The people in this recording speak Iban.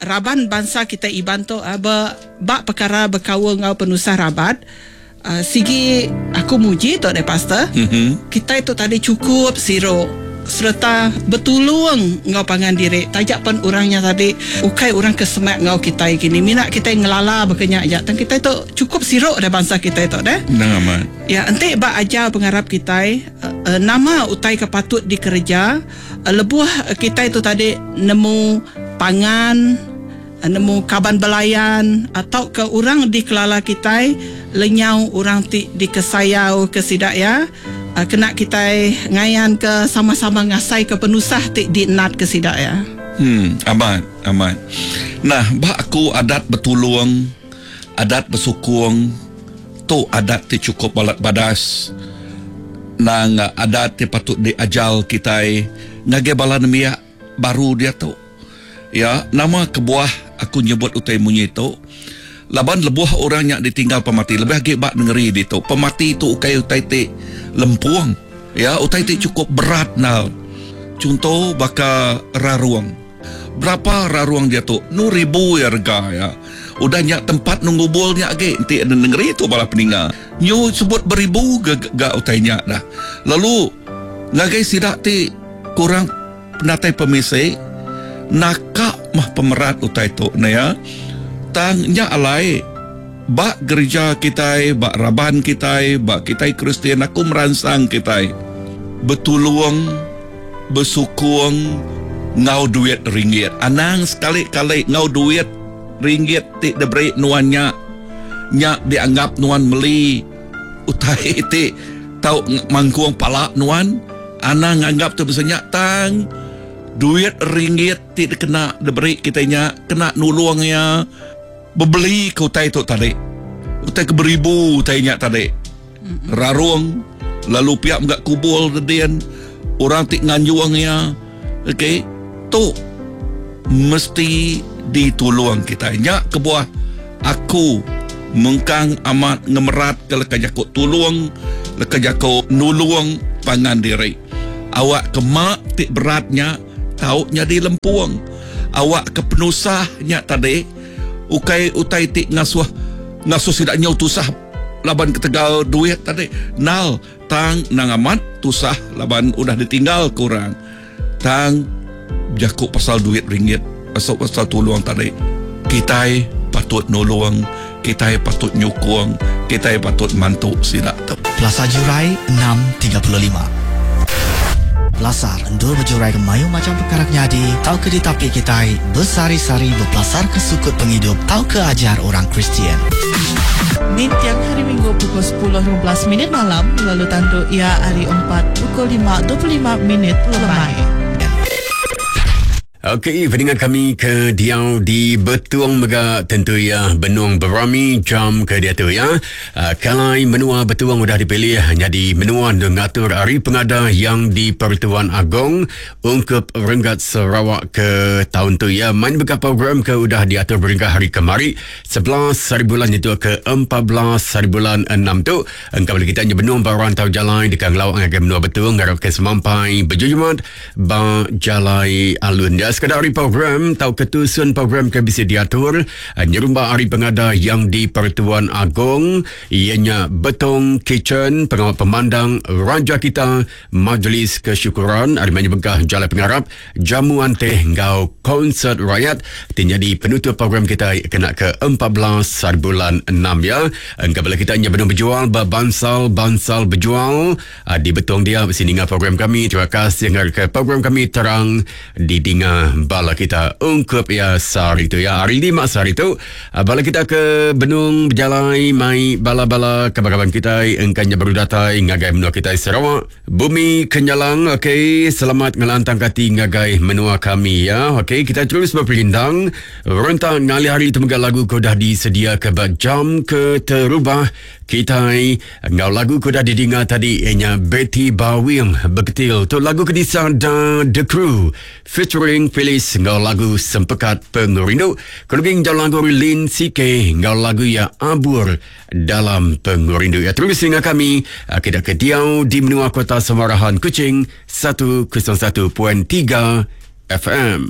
raban bansa kitai Iban tu ba ba pekara bekaul enggau penusah rabat sigi aku muji tu deh pastor. Kitai tu tadi chukup siru sereta betulung enggau pangan diri taja pen orang nya tadi ukai orang ke semak enggau kitai kini mina kitai ngelala baka nya aja tang kitai tu chukup siru deh bansa kitai tu deh. Endang amat. Ya enti ba ajar pengarap kitai nama utai ke patut dikereja lebuh kitai tu tadi nemu pangan nemu kaban belayan tauka orang dikelala kitai lenyau orang ti dikesayau ke sida iya kena kitai ngayanka sama-sama ngasaika penusah ti dienatka sida iya. Hmm, amat, amat. Nah, ba aku adat betulung, adat besukung tu adat ti chukup balat badas nang adat ti patut diajar kitai ngagai bala nembiak baru diatu. Ya, nama kebuah aku nyebut utai munyi tu? Laban lebuh orang nya ditinggal pemati, lebih agi ba nengeri ditu, pemati tu ukai utai ti lempung. Ya, utai ti chukup berat endar. Chunto baka rarung. Berapa rarung diatu? Nu ribu iya rega iya. Udah nya tempat nu ngubul nya agi enti nengeri tu bala peninga. Nyu sebut beribu ga ga utai nya dah. Lalu ngagai sida ti kurang Penatai pemisi naka mah pemerat utai tu ne ya. Tang nya alai ba gerija kitai, ba raban kitai, ba kitai Kristian aku meransang kitai betulung, besukung enggau duit ringgit. Anang sekali-kali enggau duit ringgit ti diberi nuan nya, nya dianggap nuan meli utai ti tau mangkung pala nuan. Anang nganggap tu bisi nya tang duit ringgit ti dikena diberi kitai nya kena nulung iya bebeli ke utai tu tadi. Utai ke beribu utai nya tadi. Rarung lalu pia mega kubul dedin orang ti nganjung iya. Okey tu mesti ditulung kitai. Nya kebuah aku mengkang amat ngemeratka leka jaku tulung, leka jaku nulung pangan diri. Awakka ma ti berat nya tau nyadi lempung. Awakka penusah nya tadi ukai utai ti ngasuh ngasuh sida nyau tusah laban ketegal duit tadi. Nal tang endang amat tusah laban udah ditinggalka orang. Tang bejaku pasal duit ringgit pasal pasal tulung tadi kitai patut nulung kitai patut nyukung kitai patut mantu sida tu. Pelasar Jurai 6:35. Pelasar endur bejuraika mayuh macham pekara ke nyadi tauka ditapi kitai besehari-sehari bepelasarka sukut pengidup tauka ajar orang Kristian. Ninting Hari Minggu pukul 10:15 minit malam lalu tandu iya hari Empat pukul 5:25 minit lemai. Okey, peningat kami ke diau di Betong mega tentu iya benung berami jam ke diatu ya. Uh, kalai menua Betong udah dipilih nyadi menua ngatur hari pengada yang di Pertuan Agong ungkup renggat Sarawak ke taun tu ya. Main beka program ke udah diatur berengkah hari kemari 11 hari bulan nyentuk ke 14 hari bulan 6 tu. Engka bala kita nya benung ba rantau jalai deka ngelawa ngagai menua Betong ngarapka semampai bejujumat ba jalai alun dia. Sekeda ari program tauka tusun program ke bisi diatur eh, nyerumba hari pengada yang di Pertuan Agong iya nya Betong Kitchen pengawa pemandang Raja Kita Majlis Kesyukuran ari mayuh bengkah jalai pengarap Jamuan teh enggau konsert rayat ti nyadi penutup program kitai kena ke 14 hari bulan 6 ya. Engka bala kita nya benung bejual ba bansal-bansal bejual ah, di Betong dia bisi ninga program kami. Terima kasih ngarapka program kami terang didinga bala kita ungkup ya sehari tu ya. Hari lima sehari tu ah, bala kita ke benung bejalai mai bala-bala kaban-kaban kitai engka nya baru datai ngagai menua kitai Sarawak. Bumi Kenyalang, okey, selamat ngelantang ati ngagai menua kami ya. Okey, kita terus beperindang. Rentak ngalih hari tu mega lagu ke udah disediaka ba jam ke terubah kitai enggau lagu ke udah didinga tadi ianya Betty Bawing Beketil. Tu lagu ke disada The Crew featuring Phyllis enggau lagu Sempekat Pengerindu. Keluging jauh lagu Lin CK enggau lagu iya Abur dalam pengerindu. Ya, terus dengan kami ah, kita ke diau di menua Kota Samarahan Kuching 101.3 FM.